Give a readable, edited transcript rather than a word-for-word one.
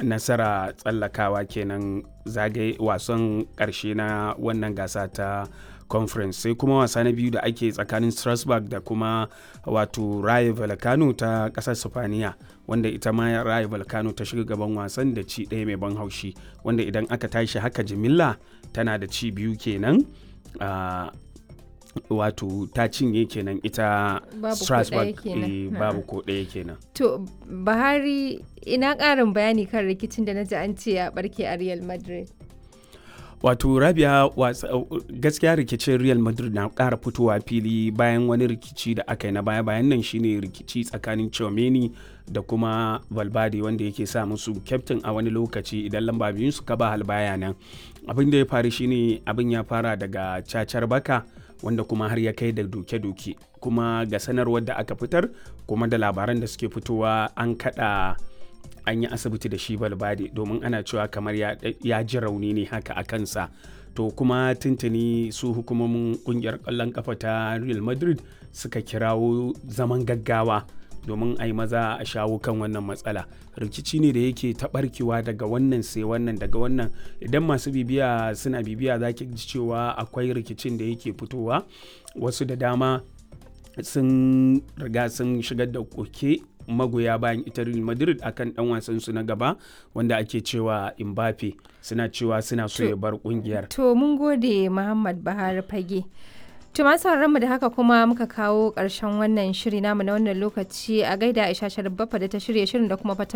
nasara tsallakawa kenan zagaye wasan karshe na wannan gasa ta Conference. Sai kuma wasa na biyu da ake tsakanin Strasbourg da kuma wato Rayo Vallecano ta kasar Sifaniya, wanda ita ma Rayo Vallecano ta shiga gaban wasan da ci ɗaya mai ban haushi, wanda idan aka tashi haka jimilla tana da ci biyu kenan. Wato ta cinye kenan ita Strasbourg, babu ko ɗaya kenan. To Buhari, ina ƙarin bayani kan rikicin da na ji an ce ya barke a Real Madrid. Wato Rabia, gaskiya rikicin Real Madrid na ƙara fitowa fili bayan wani rikici da aka yi na baya bayan nan, shine rikici tsakanin Chomeni da kuma Valverde, wanda yake sa musu kyaftin a wani lokaci idan lamba biyun su kaba halbaya nan. Abin da ya faru shine abin ya fara daga cacar baka, wanda kuma har ya kai da doke-doke. Kuma ga sanarwar da aka fitar kuma da labaran da suke fitowa, an kada an yi asibiti da shi Balbade, domin ana cewa kamar ya ji rauni ne haka a kansa. To kuma tuntuni su hukumomin kungiyar kwallon kafa ta Real Madrid suka kirawo zaman gaggawa domin a yi maza a shawo kan wannan matsala. Rikici ne da yake taɓarkewa daga wannan sai wannan, daga wannan. Idan masu bibiya suna bibiya, za ki ji cewa akwai rikicin da yake fitowa. Wasu da dama sun riga sun shigar da koke, magoya bayan ita Real Madrid, akan dan wasan su na gaba wanda ake cewa Mbappe, suna cewa suna so ya bar kungiyar. To mun gode, Muhammad Buhari Fage. To masu mu da haka kuma muka kawo ƙarshen wannan shiri namu na wannan lokaci. A gaida Aisha Sharif da ta shirya shirin da kuma fata